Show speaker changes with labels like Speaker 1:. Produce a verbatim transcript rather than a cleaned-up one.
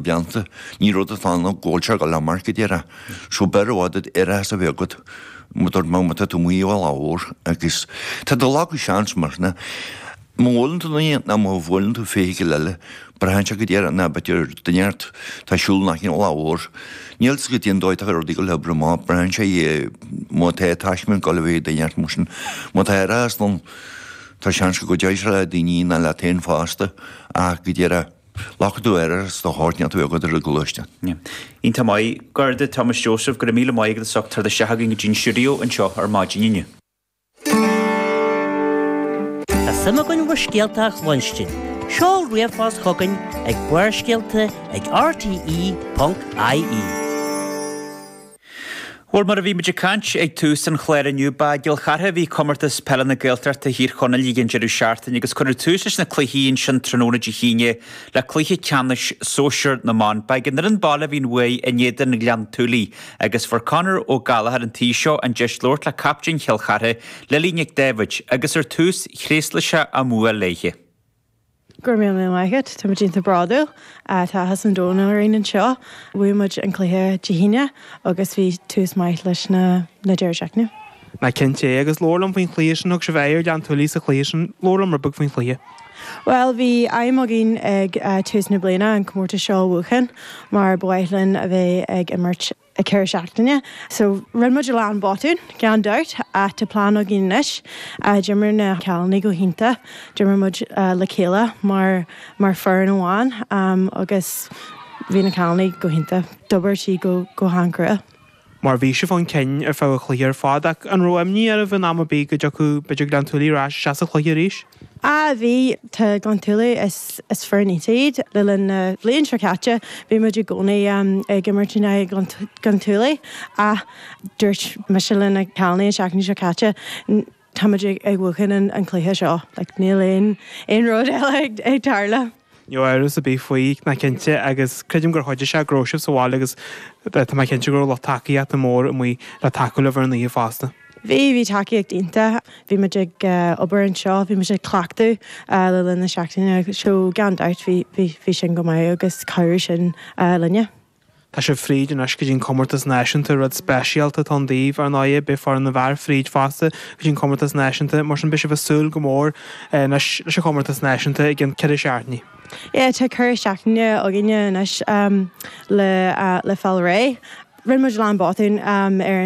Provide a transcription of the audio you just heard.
Speaker 1: blianta, ní rud atá ann go bhfuil sé ag dul amach go díreach. So b'fhearr i bhfad árachas a bheith agat má dúirt mé má tá tú amuigh ar lá mhór agus tá do lá go seans mar sin. Má bhuaileann tú duine nó má bhuaileann tú feithicil eile, braitheann sé go díreach ná b'fhéidir duine ort tá siúl nach in lá mhór. Níl 's go dtí an dóigh atá rudaí go leor amach, braitheann sé má tá taisme ag dul a bheith ag duine ort mar sin. Má tá árachas ann, tá seans go gcuideoidh sé le daoine ná leat féin fosta ach go díreach Glacfaidh tú árachas do shórt níl tú agat ar an gcoláiste.
Speaker 2: Iontach maith. Garda Thomas Joseph, go raibh míle maith agat as ucht teacht isteach againn go dtí an stiúideo anseo ar maidin inniu.
Speaker 3: Tá suim againn bhur scéalta a chluinstin. Seol ríomhphost chugainn ag Barrscéalta ag RTE.ie.
Speaker 2: Bhuel mar a bhí muid ag caint ag tús an chláir inniu ba i gCill Chartha a bhí comórtas peile na Gaeltachta Thír Chonaill ag an deireadh seachtaine agus cuireadh tús leis na cluichí ansin tráthnóna Dé hAoine le cluiche ceannais sóisir na mban. Ba ag an fhoireann baile a bhí an bhuaidh in éadan Ghleann tSúilí agus fuair Conor Ó Gallchóir an tí seo an deis labhairt le captaen Chill Chartha, Lily Nic Daibhéid, agus ar tús thréaslaigh sé a mbua léithe.
Speaker 4: Gur mé mé maiid Tá muid iontach bródúil tá áthas an domhain orainn anseo. Bhuaigh muid an cluiche Dé hAoine agus bhí tús maith leis na na deireadh seachtaine.
Speaker 5: Ná cinnte é agus labhair liom faoin chluiche sin thug sibh aghaidh ar Ghleann tSúilí sa chluiche sin labhair liom rud beag faoin chluiche.
Speaker 4: Well bhí aidhm againn ag uh, tús na bliana an comórtas seo a bhuachan mar ba mhaith linn a bheith ag imirt ag deireadh seachtaine. So rinne muid a lán botún gan dabht ach tá plean againn anois d'imir na cailíní go hiontach d'imir muid uh, le chéile mar mar foireann amháin um, agus bhí na cailíní go hiontach d'oibir siad go go han-chrua.
Speaker 5: Mar bhí sibh chun cinn ar feadh an chluiche ar fad ach an raibh imní oraibh in am ar bith go dtiocfadh b'fhéidir Gleann tSúilí ar ais isteach sa chluiche arís?
Speaker 4: A bhí tá Gleann tSúilí is is foireann iad le linn na bliana seo caite bhí muid i gcónaí um, ag imirt in aghaidh Gleann tSúilí a dúirt mise leis na cailíní an seachtain seo caite tá muid ag buachan an, an cluiche seo, like, níl aon aon rud eile ag, ag tarlú.
Speaker 5: Ní amhras ar bith faoi ná cinnte agus creidim gur chuidigh sé go raibh sibh sa bhaile agus tá mé cinnte go raibh lucht tacaíochta mór amuigh le tacú libh ar an oíche fosta.
Speaker 4: Bhí bhí tacaíocht iontach, bhí muid ag uh, obair anseo, bhí muid ag cleachtadh uh, le linn na seachtaine seo gan dabht bhí bhí sin go maith agus cabhraigh sin uh, linne.
Speaker 5: Tá sibh fríd anois go dtí an comórtas náisiúnta rud speisialta atá ann daoibh ar ndóigh beidh foireann na bhfear fríd fosta go dtí an comórtas náisiúnta mar sin beidh sibh ag súil go mór anois leis an chomórtas náisiúnta ag an ceithre seachtaine.
Speaker 4: Yeah, tá ceithre seachtaine againne anois um, le uh, le fáil réidh. Rinne muid lán botún um, ar